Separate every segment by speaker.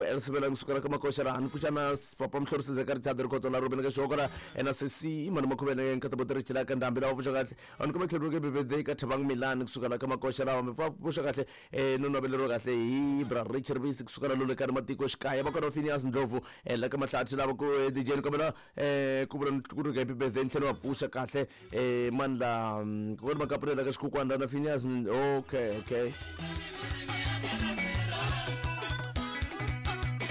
Speaker 1: Elsebela kusukela ka makoxa laha ni pfuxa na papa Mhlorisi Zeka Richard Rikhotso la Ruben ka Xokora na sesi Mani Makhuvele nkata boteri chila ka ndhambi lava pfuxa kahle a ni kuma tlhelo ke birthday ka Thabang Milan kusukela ka makoxa lawa mi pfuxa kahle no naveleriwa kahle hi bra Richard Bisi kusukela lole ka matiko xikaya va kona Phineas Ndlovu la ka Mahlathi lava ku DJ ni kombela ku vula ku ri happy birthday ni tlhela va pfuxa kahle mani la ku ri makapulela ka xikhukhwana na Phineas. Okay, okay.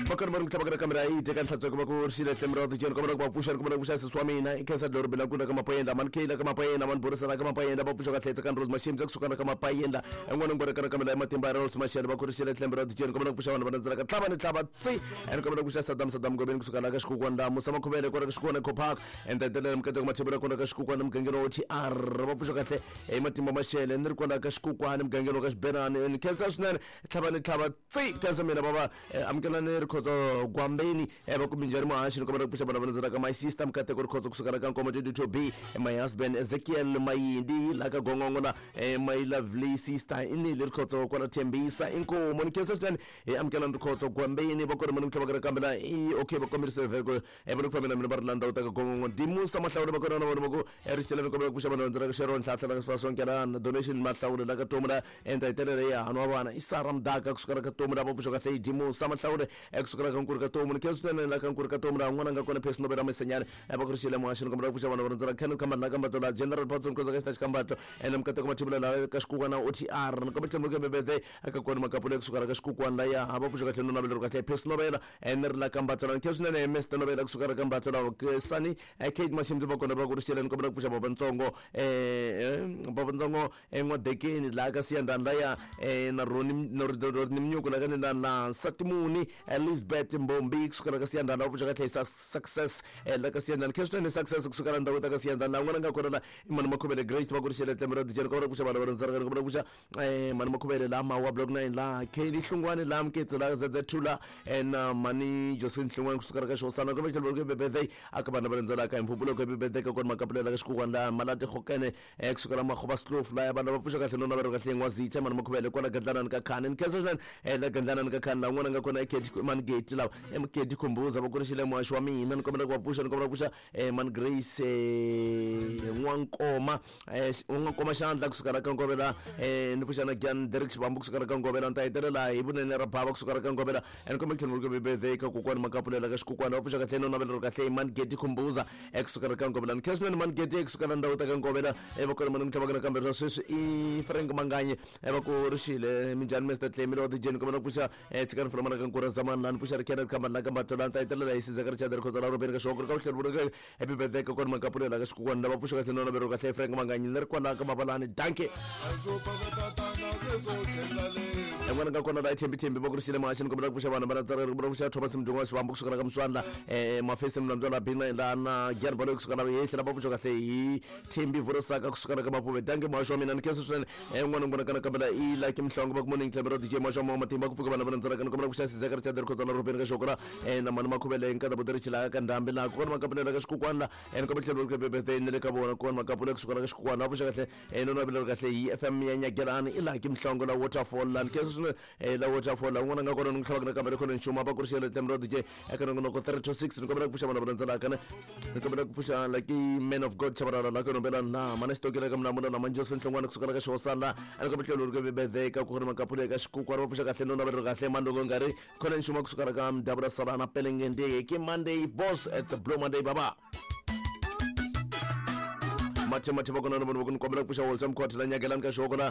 Speaker 1: Vakarhi va ri mitlhavakela kambe ra yi teka nhlatsweko va ku ri xile hlemi ra ticheni kombela ku va pfuxa ri kombela ku pfuxa sesi wa mina i khensa dloro bila kula ka mapayendla mani keyila ka mapayendla mani borisana ka mapayendla va pfuxa kahle tsekani rose mashimbi kusuka na ka mapayendla en'wana ngwere ka kambe la matimba ya rose mashele va ku ri xile hlemi ra ticheni kombela ku pfuxa vanhu va landzela ka tlhava ni tlhava tsi ene kombela ku pfuxa Saddam Saddam Gobeni kusuka la ka xikukwana la Musa Makhuvele kwala ka xikukwana Eco Park entetelele mukateko Mathebula kwala ka xikukwana mugangeni wa OTR va pfuxa kahle hi matimba mashele ni ri kwala ka xikukwana mugangeni wa ka Xibenani ni khensa swinene tlhava ni tlhava tsi khensa mina bava amukelani Rikhotso Gwambeni va ku minjhani muhaxi ni kombela ku pfuxa vana va landzela ka my sister Mukateko Rikhotso kusuka la ka Nkomo 22B my husband Ezekiel Mayindi la ka Gongongo la my lovely sister Inile Rikhotso kwala Thembisa inkomo ni khensa swinene hi amukelani Rikhotso Gwambeni va kona mani mitlhava ka kambe la i okay va kombisa vhele ku va ku fambela mina va ri la ndhawu ta ka Gongongo Dimusa Mahlawule va kona na vona va ku rixela ni kombela ku pfuxa vanhu va landzela ka Sharon Ntlhantlha la ka Sifasonkelana donation Mahlawule la ka Tomu la enta hitelele ya hanwa vana i Sara Mdaka kusuka la ka Tomu la va pfuxa kahle hi Dimusa Mahlawule kusuka la ka Nkuri ka Tomu ni khensa swinene la ka Nkuri ka Tomu la n'wana nga kona Phesi Nobela Masenyane va ku rixile muhaxi ni kombela ku pfuxa vanhu va landzela Kenneth Kambani la ka Mbatlo la General Patson Khoza ka Xitachi Kambatlo ene Mukateko Mathebula la ka Xikukwana OTR ni kombela tlhelo ke birthday aka kona Makapula kusuka la ka Xikukwana la ya va pfuxa kahle no naveleriwa kahle Phesi Nobela ene ri la ka Mbatlo la ni khensa swinene Mr Nobela kusuka la ka Mbatlo la Sani Kate Mashimbi va kona va ku rixile ni kombela ku pfuxa babantsongo babantsongo N'wadekeni laha ka Siyandhani laya na Roni Roni Mnyuku la ka ni na Nsatimuni Elizabeth Mbombi kusuka la ka Siyandhani va pfuxa kahle success la ka Siyandhani khensa swinene success kusuka la ndhawu ta ka Siyandhani la n'wana nga kona la i Mani Makhuvele Grace va ku rixele tlembe ra dijeni kombela ku pfuxa vanhu va rindzela kombela ku pfuxa Mani Makhuvele la Mawa block 9 la Kelly Hlungwani la Mketsi la ZZ2 la na Mani Josephine Hlungwani kusuka la ka Xihosana kombela tlhelo ku birthday aka vanhu va rindzelaka hi mpfhumpfulo ku birthday ka kona makapulela ka xikukwana la Malati Gokene kusuka la Makgoba Sloof la vanhu va pfuxa kahle no navelo kahle N'wazitha Mani Makhuvele kwala Gandlanani ka Khani ni khensa swinene la Gandlanani ka Khani la n'wana nga kona i Mani Geti lawa Mgeti Khumbuza va kurixile muhaxi wa mina ni kombela ku va pfuxa ni kombela ku pfuxa Mani Grace N'wankoma N'wankoma xandla kusuka la ka Ngovela ni pfuxa na Gian Derek Xivambu kusuka la ka Ngovela ni ta hetelela hi vunene ra bava kusuka la ka Ngovela ni kombela ku tlhela ku birthday ka kokwani Makapulela ka xikukwana va pfuxa kahle no naveleriwa kahle Mani Geti Khumbuza kusuka la ka Ngovela ni khensa swinene Mani Geti kusuka la ndhawu ta ka Ngovela va kona mani mitlhava kana kambe swa sweswi i Frank Manganye va ku rixile minjhani Mr Clemi lowa DJ ni kombela ku pfuxa tshikani fula mana ka Nkura Zamani la ni pfuxa ri Kenneth Kambani la ka Mbatlo la ni ta hetelela hi Sizeka Richard Rikhotso la Robeni ka Xihoko ka vutlhelo vula happy birthday ka kona Makapulela ka xikukwana lava pfuxa kahle no naveleriwa kahle Frank Manganye ni ri kwala ka Mabalani dankie en'wana nga kona la Thembi Thembi va ku rixile muhaxi ni kombela ku pfuxa vanhu va landzela ri kombela ku pfuxa Thomas Mdungu wa Xivambu kusuka la ka Muswandla Mafesi Mlambywa la Bina la na Gian Baloyi kusuka la Hehli lava pfuxa kahle hi Thembi Vurosaka kusuka la ka Mapuve dankie muhaxi wa mina ni khensa swinene n'wana n'wana kana kambela i Lucky Mhlongo va ku morning Clemero DJ muhaxi wa moya matimba ku pfuka vanhu va landzelaka ni kombela ku pfuxa Sizeka Richard Rikhotso la Rubeni ka Xokora na Mani Makhuvele nkata boteri chila ka ndhambi la kona makapulela ka xikukwana la ni kombela tlhelo ku birthday ni le ka vona kona makapula kusuka la ka xikukwana va pfuxa kahle no naveleriwa kahle hi FM ya Nyagelani i Lucky Mhlongo la Waterfall la ni khensa swinene la Waterfall la un'wana nga kona ni n'wi tlhavaka nakambe ri khona nxuma va ku ri xele Clemero DJ eka nongonoko 3 to 6 ni kombela ku pfuxa vanhu va landzelaka ne ni kombela ku pfuxa Lucky Man of God Chabalala la ka nombela na mana xitokela ka Mlamula la Manjos Nhlongwana kusuka la ka Xihosana la ni kombela tlhelo ri birthday ka ku ri makapula eka xikukwana va pfuxa kahle no naveleriwa kahle mandongo ngari khona nxuma kusuka la ka Mdabula Salana Pelengende ke Monday boss, it's a blue Monday baba mathe mathe va kona na vona va ku ni kombela ku pfuxa Walter Mkhotha la Nyakelani ka Xihoko la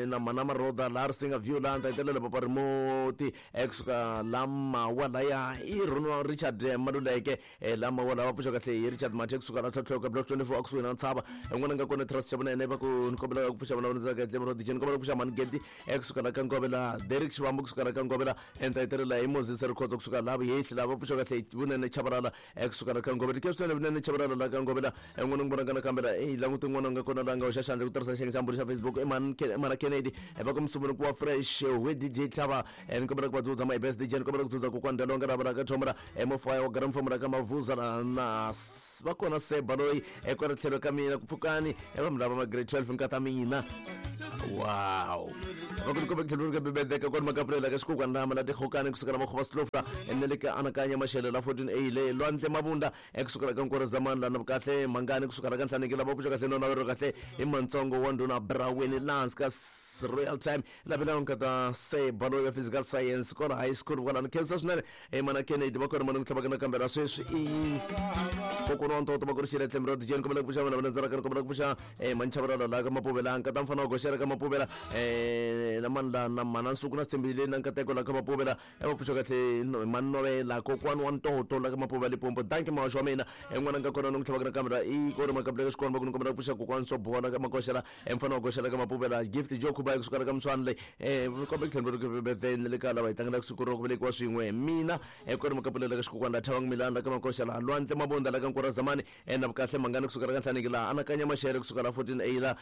Speaker 1: na mana Maroda la ri singa view la ni ta hetelela papa Rimoti kusuka la Mawa laya i Ronald Richard Maluleke la Mawa la va pfuxa kahle hi Richard Mathe kusuka la tlhotlho ka block 24 akusuhi na Ntshava n'wana nga kona Trust xa vunene va ku ni kombela ku pfuxa vana va ndzaka Clemero DJ ni kombela ku pfuxa Mani Gedi kusuka la ka Ngovela Derek Xivambu kusuka la ka Ngovela ni ta hetelela hi Moses Rikhotso kusuka la Vuhehli la va pfuxa kahle vunene Chabalala kusuka la ka Ngovela ke swinene vunene Chabalala la ka Ngovela n'wana n'wi vona nakambe la la i languti n'wana nga kona la nga hoxa xandla ku tirhisa xiyenge xa mbulu xa Facebook i mana Kennedy va ku musunguri wa fresh we DJ Tlhava ni kombela ku va dzudza my best DJ ni kombela ku dzudza kokwani Dalonga ra vula ka thomra mofaya wa garamfomo ra ka Mavuza na va kona Seba loyi kwala tlhelo ka mina ku pfukani va mi lava ma grade 12 nkata mina wow va ku ni kombe tlhelo ka bibedeka kwani makapulela ka xikokwana lama la tihokani kusukela makhoba slofla ne le ka anakanya maxele la 14 a le lwandle mabunda ekusukela ka nkoro zamani lana kahle mangani kusukela ka nhlaniki lava pfuxa kahle nona vero kahle hi mantsongo wa ndhuna braweni lans ka royal time lavela nkata se balo ya physical science kwala high school kwalano khensa swinene mana Kennedy va kona mani ku tlhavaka nakambe ra sweswi i kokwana wa ntoto va ku ri xile tlhembero dijeni kombela ku pfuxa vana va landzelaka ni kombela ku pfuxa manchavarala la ka mapuvela nkata mfana wa goxela ka mapuvela na mani la na mana nsuku na sithembile na nkateko la ka mapuvela va pfuxa kahle manovela kokwani wa ntoto la ka mapuvela Limpopo danki mahoxo wa mina n'wana nga kona ni ku tlhavaka nakambe ra i kori makapula ka xikolo va ku ni kombela ku pfuxa kokwani swo bola ka makoxela mfana wa goxela ka mapuvela gift jo khuba kusuka la ka mswana leyi kombe ku tlhelo birthday ni le ka lava hi tlangelaka siku ro ku velekiwa swin'we mina kori makapulela ka xikokwana la thavang milani la ka makoxela lwandle mabunda la ka nkura zamani na vukahle mangani kusuka la ka nhlaniki la anakanya maxele kusuka la 14 a la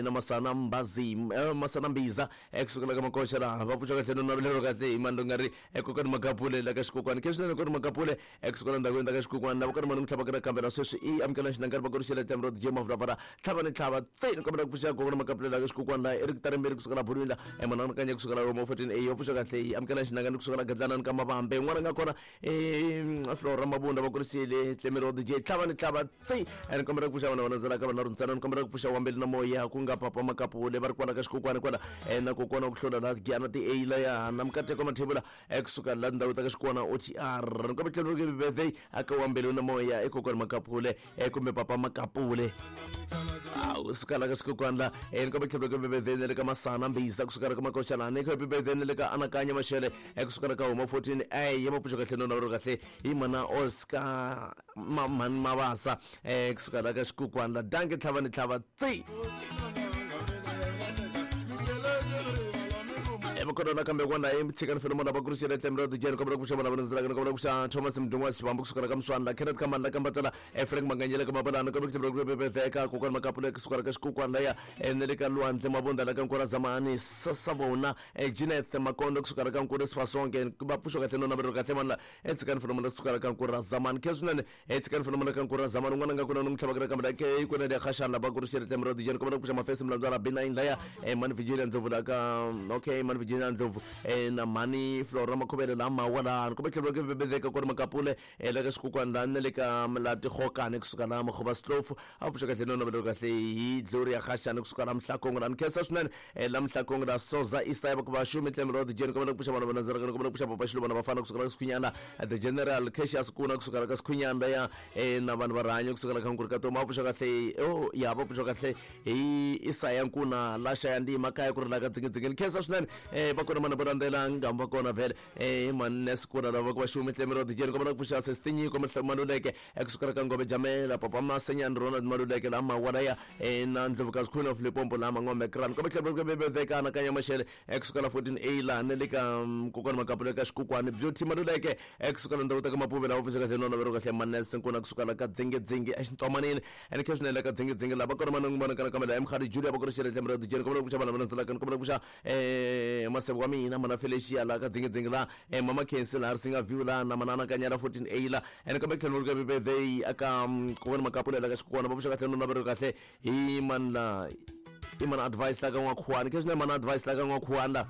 Speaker 1: na masana mbazi masana mbiza kusuka la ka makoxela va pfuxa kahle no navelelo kahle hi mani nga ri kokani makapule la ka xikokwani ke swinene kori makapule kusuka la ndhawini ta ka xikokwani lava kori mani ku tlhavaka nakambe na sweswi i amukela xinangari va kori xele tlemro DJ Mavravara tlhava ni tlhava tseni kombela ku pfuxa kokwana makapule la ka xikokwani la Eric Taremberi kusuka la Bulwini la mana anakanya kusuka la Roma 14 a va pfuxa kahle i amukela xinangani kusuka la Gadlanani ka Mavambe n'wana nga kona Flora Mabunda va kurisile tlemero DJ tlhava ni tlhava tsi ni kombela ku pfuxa vana va landzelaka vana runtsana ni kombela ku pfuxa wambeli na moya ku nga papa makapule va ri kwala ka xikokwani kwala na kokwana wa ku hlula la giyana ti a la ya na mikateko mathebula kusuka la ndhawu ta ka xikwana OTR ni kombela tlhelo ke birthday aka wambeli na moya i kokwana makapule kumbe papa makapule kusuka la ka xikokwani la ni kombela tlhelo ke birthday le ka masana mbisa kusuka la ka makoxana ni happy birthday le ka anakanya maxele kusuka la ka homa 14 a ya mapfuxo kahle no navelo kahle hi mana Oscar mani Mavasa kusuka la ka xikokwani la danke tlhava ni tlhava tsi makona nakambe kwana i tshikani felo mona va ku ri xele tlemero dijeni kombela ku pfuxa vana va landzelaka ni kombela ku pfuxa Thomas Mdungwa Xivambu kusuka la ka Mswana la Kenneth Kamani la ka Mbatela Frank Manganyela ka Mapalana kombela ku tlhela ku bebetheka kokwana Makapule kusuka la ka xikokwani laya ne le ka Lwandle Mabunda la ka Nkora Zamani Sasavona Jeanette Makondo kusuka la ka Nkura Sifasonke va pfuxa kahle no navelo kahle mani la tshikani felo mona kusuka la ka Nkura Zamani khe swinene tshikani felo mona ka Nkura Zamani un'wana nga kona ni n'wi tlhavaka kambe la ke kona le Khashana va ku ri xele tlemero dijeni kombela ku pfuxa Mafesi Mlandzwana B9 laya mani Virginia Ndlovu la ka okay mani Virginia Ndlovu na mani Flora Makhuvele la mawa la ni kombe tlhelo ke bebedeka kori makapule la ka xikokwani la ne le ka la tihokani kusuka la Makhoba Slofu a pfuxa kahle no navelo kahle hi Gloria Khashana kusuka la Mhlakongo la nkhensa swinene la Mhlakongo la Soza Isaya va ku va xumi tlemero dijeni kombela ku pfuxa vana va landzelaka ni kombela ku pfuxa papa Xiluvana vafana kusuka la ka Sikhwinyana the General Cassius Kuna kusuka la ka Sikhwinyana ya na vanhu va rihanyo kusuka la ka Nkuri ka Toma va pfuxa kahle oh ya va pfuxa kahle hi Isaya Nkuna la xaya ndima kaya ku ri la ka dzingedzingeni khensa swinene va kona mana vo landzela ngambu va kona vhele mannes kuna lava ku va xumi tlemero dijeni kombela ku pfuxa sesitinyiko Maluleke kusuka la ka Ngove Jamela papa Masenyani Ronald Maluleke la mawala ya na Ndlovukazi Queen of Limpopo la Mangombe Kran kombe tlhelo ku bebezeka anakanya maxele kusuka la 14 a la ne le ka kokwana Makapule ka xikokwani Beauty Maluleke kusuka la ndhawu ta ka Mapuvela va pfuxa kahle nona vero kahle mannes Nkuna kusuka la ka dzingedzingi exintomanini ene khe swinene la ka dzingedzingi la va kona mana n'wana kana kambe la Mkhadi Julia va ku ri xele tlemero dijeni kombela ku pfuxa vana va landzelaka ni kombela ku pfuxa masebo wa mina mana Felicia la ka dzingedzingi la mama Khensi la Risinga View la na mana anakanya la 14 a la ene kambe tlhelo ka birthday aka kokwana Makapule la ka xikokwani va pfuxa kahle nona vero kahle hi mana i mana advice la ka N'wakhuwani khe swinene mana advice la ka N'wakhuwani la